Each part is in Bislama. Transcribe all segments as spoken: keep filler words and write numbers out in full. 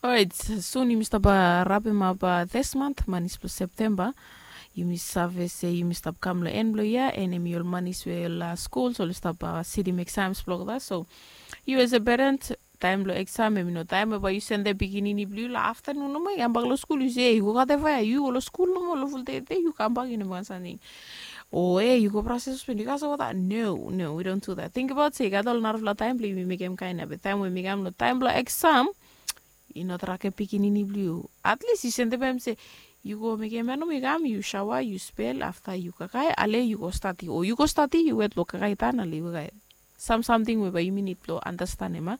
Orait, sun yumi stap rapim ap this month, manis blong Septemba. Yumi save se yumi stap kam long en blong yia, en em i ol manis we ol skuls ol stap sidim exams blong olgeta. So yu as a parent, taem blong exam em i no taem we bae yu sendem pikinini blong yu long aftanun nomo i kambak long skul, yu se, ei, yu go katem faea, yu go long skul nomo long ful dei dei, yu kambak, yu no mekem samting. O ei, yu go brasa sospen, yu kasem wota. No, no, we don't do that. Tingbaot se i gat ol narafala taem blong yumi mekem kaen ia, be taem we mi kam long taem blong exam, i no trakem pikinini blong yu. At least yu sendem hem se, yu go mekem ia nomo, yu kam, yu saoa, yu spel, afta yu kakae, ale yu go stadi, o yu go stadi, yu wet long kakae tan, ale yu kakae. Sam samting we bae yumi nid blong andastanem ia,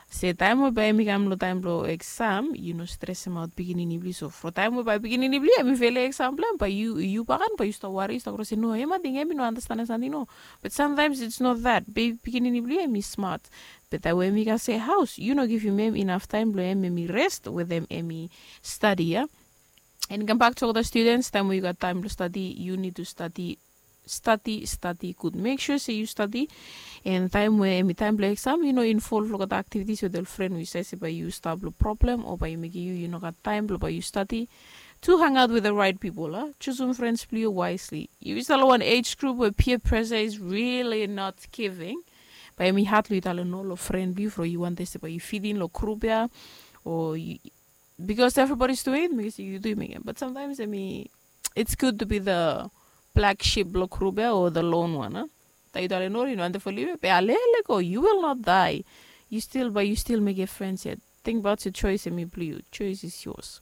se taem we bae hem i kam long taem blong exam, yu no stresemaot pikinini blong yu. So from taem we bae pikinini blong yu hem i felim exam blong hem, bae yu, yu baken bae yu stap wari, yu stap kros se, no, hem ating hem i no andastanem samting, no. But sometimes it's not that. Bae pikinini blong yu hem i smat. Be taem we hem i kasem haos, yu no givim hem inaf taem blong hem hem i rest wetem hem i stadi ia. En kambak to olgeta students, taem we yu gat taem blong stadi, yu nid tu stadi, stadi, stadi gud. Mek sua se yu stadi. En taem we hem i taem blong exam, yu no involv long olgeta activities wetem ol fren we yu save se bae yu stap long problem o bae i mekem yu yu no gat taem blong bae yu stadi. To hang out with the right people, a, jusum frens blong yu wisely. Yu stap long wan age group we peer pressure is really not giving. Bae hem i had long yu talem no long fren blong yu from yu wantem se bae yu fit in long grup ia, o yu, because everybody's doing it, mekem se yu tu yu mekem. But sometimes, I mean, it's good to be the black sheep blong grup ia o the lone one, a. Taem yu talem no, yu no wantem folem hem ia, be ale, lego, you will not die. Yu stil, bae yu stil mekem frens ia. Tingbaot se choice hem i blong yu. Choice is yours.